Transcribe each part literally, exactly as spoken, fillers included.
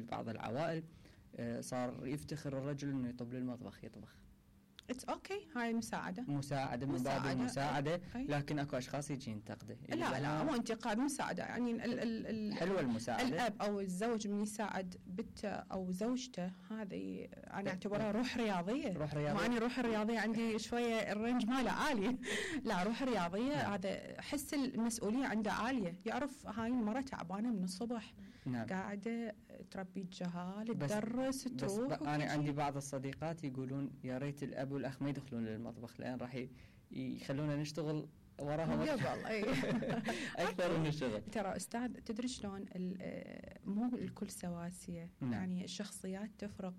في بعض العوائل صار يفتخر الرجل انه يطب للمطبخ يطبخ. اتس اوكي okay. هاي مساعده مساعده من باب المساعده، لكن اكو اشخاص يجي ينتقده. لا لا مو انتقاد، مساعده. يعني ال ال ال حلوه المساعده. الاب او الزوج من يساعد بنته او زوجته، هذه انا اعتبرها روح رياضيه. روح رياضيه. معني روح الرياضيه عندي شويه الرينج ماله عالي. لا روح رياضيه. نعم. هذا حس المسؤوليه عنده عاليه، يعرف هاي المراه تعبانه من الصبح. نعم. قاعده تربي الجهال، تدرس، تروح. بس انا عندي بعض الصديقات يقولون يا ريت الاب والاخ ما يدخلون للمطبخ لان راح يخلونا نشتغل وراهم قبل. اي اكثر من الشغل. ترى استاذ تدري شلون مو الكل سواسيه. نعم. يعني الشخصيات تفرق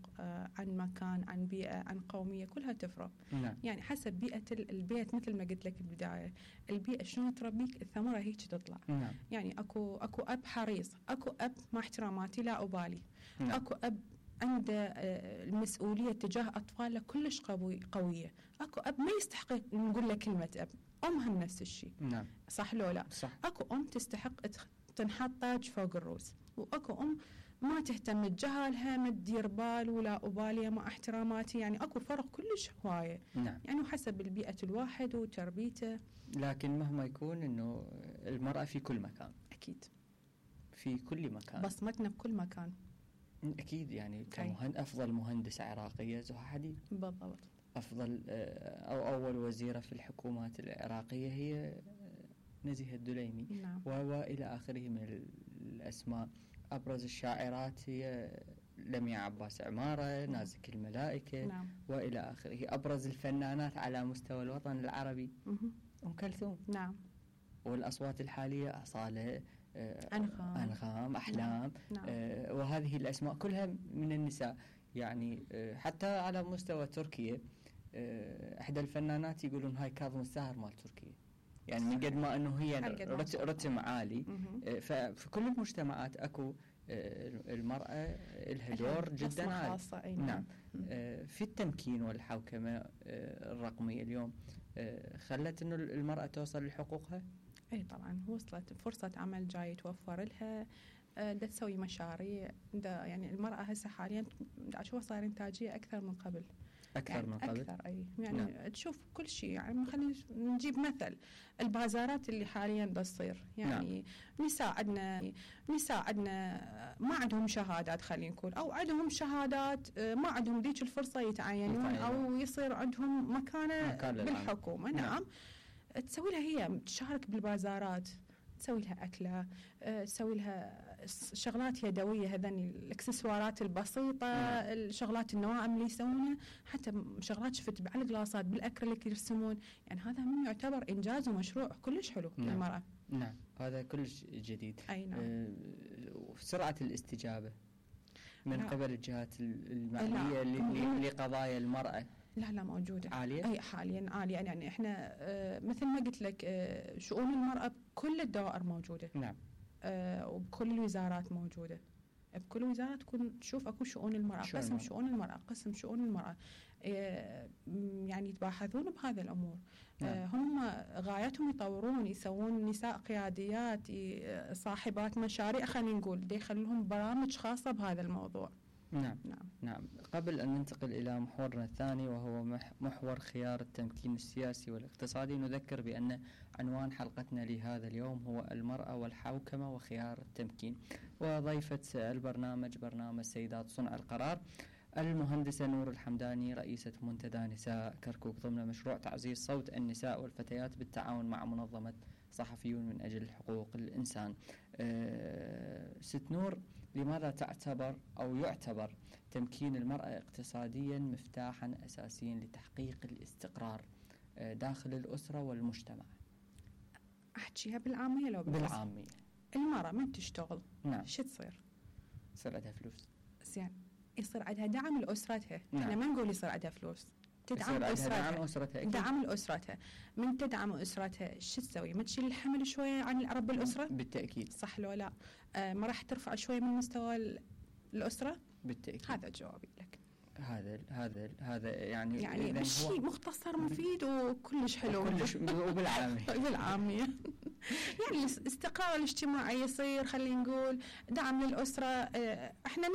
عن مكان، عن بيئه، عن قوميه، كلها تفرق. نعم. يعني حسب بيئه البيت، مثل ما قلت لك البدايه، البيئه شلون تربيك الثمره هيك تطلع. نعم. يعني اكو اكو اب حريص، اكو اب مع احتراماتي لا ابالي. نعم. اكو اب عنده المسؤولية تجاه أطفاله كلش قوي قوية. أكو أب ما يستحق نقول له كلمة أب. أمهم نفس الشيء. نعم. صح لو لا؟ صح. أكو أم تستحق تنحط تاج فوق الروس، وأكو أم ما تهتم تجاهلها، ما تدير بال ولا أبالية مع احتراماتي. يعني أكو فرق كلش هواية. نعم. يعني حسب البيئة الواحد وتربيته. لكن مهما يكون إنه المرأة في كل مكان. أكيد. في كل مكان. بصمتنا بكل مكان. أكيد. يعني كمهن أفضل مهندسة عراقية زها حديد. بالضبط. أفضل أو أول وزيرة في الحكومات العراقية هي نزيهة الدليمي. نعم. وإلى آخره من الأسماء. أبرز الشاعرات هي لميا عباس عمارة. نعم. نازك الملائكة. نعم. وإلى آخره. أبرز الفنانات على مستوى الوطن العربي أم كلثوم. نعم. والأصوات الحالية أصالة، أنغام. أنغام، أحلام. نعم. آه وهذه الأسماء كلها من النساء. يعني آه حتى على مستوى تركيا آه إحدى الفنانات يقولون هاي كاظم الساهر مال تركيا. يعني من قد ما أنه هي رت رتم عالي. آه ففي كل المجتمعات أكو آه المرأة لها دور جدا عالي. نعم. آه في التمكين والحوكمة آه الرقمية اليوم آه خلت أنه المرأة توصل لحقوقها. اي طبعا وصلت فرصة عمل جاي توفر لها. دا تسوي مشاريع. دا يعني المرأة هسه حاليا دا أشوفها صار إنتاجية أكثر من قبل. أكثر يعني من قبل. أكثر أي يعني. نعم. تشوف كل شيء. يعني خلينا نجيب مثل البازارات اللي حاليا دا تصير. يعني نعم. نساء عندنا نساء عندنا ما عندهم شهادات خلينا نقول، أو عندهم شهادات ما عندهم ديك الفرصة يتعينون أو يصير عندهم مكانة بالحكومة. نعم. نعم. تسوي لها هي تشارك بالبازارات، تسوي لها أكلة، تسوي لها شغلات يدوية، هذني الإكسسوارات البسيطة. نعم. الشغلات النواعم اللي يسوونها، حتى شغلات شفت على الجلاصات بالأكريليك يرسمون. يعني هذا من يعتبر إنجاز ومشروع كلش حلو. نعم. للمرأة. نعم هذا كلش جديد. أي نعم. أه سرعة الاستجابة من نعم. قبل الجهات المعنية لقضايا المرأة. لا لا موجودة عالية. أي حاليا عالية. يعني إحنا آه مثل ما قلت لك آه شؤون المرأة بكل الدوائر موجودة. نعم. آه وبكل الوزارات موجودة. بكل وزارة تكون تشوف أكو شؤون المرأة، قسم المرأة. شؤون المرأة، قسم شؤون المرأة. آه يعني يتباحثون بهذه الأمور. نعم. آه هم غايتهم يطورون، يسوون نساء قياديات، صاحبات مشاريع خلينا نقول، دي يخلون برامج خاصة بهذا الموضوع. نعم. نعم نعم. قبل أن ننتقل إلى محورنا الثاني وهو محور خيار التمكين السياسي والاقتصادي، نذكر بأن عنوان حلقتنا لهذا اليوم هو المرأة والحوكمة وخيار التمكين، وضيفة البرنامج برنامج سيدات صنع القرار المهندسة نور الحمداني، رئيسة منتدى نساء كركوك ضمن مشروع تعزيز صوت النساء والفتيات بالتعاون مع منظمة صحفيون من أجل حقوق الإنسان. أه ست نور، لماذا تعتبر أو يعتبر تمكين المرأة اقتصاديا مفتاحا أساسيا لتحقيق الاستقرار أه داخل الأسرة والمجتمع؟ أحكيها بالعامية لو بالعامية. بالعامية المرأة من تشتغل نعم شو تصير؟ يصير عندها فلوس. زين يصير عندها دعم لأسرتها. نعم. احنا ما نقول يصير عندها فلوس، تدعم أسرتها. دعم أسرتها. دعم الأسرتها. من تدعم أسرتها شو تسوي؟ ما تشيل الحمل شوية عن رب الأسرة؟ بالتأكيد. صح لو لا؟ آه ما راح ترفع شوية من مستوى الأسرة؟ بالتأكيد. هذا جوابي لك. هذا هذا هذا يعني يعني شيء مختصر مفيد وكلش حلو. كلش وبالعامية. بالعامية. يعني الاستقرار الاجتماعي يصير، خلينا نقول دعم للأسرة. آه احنا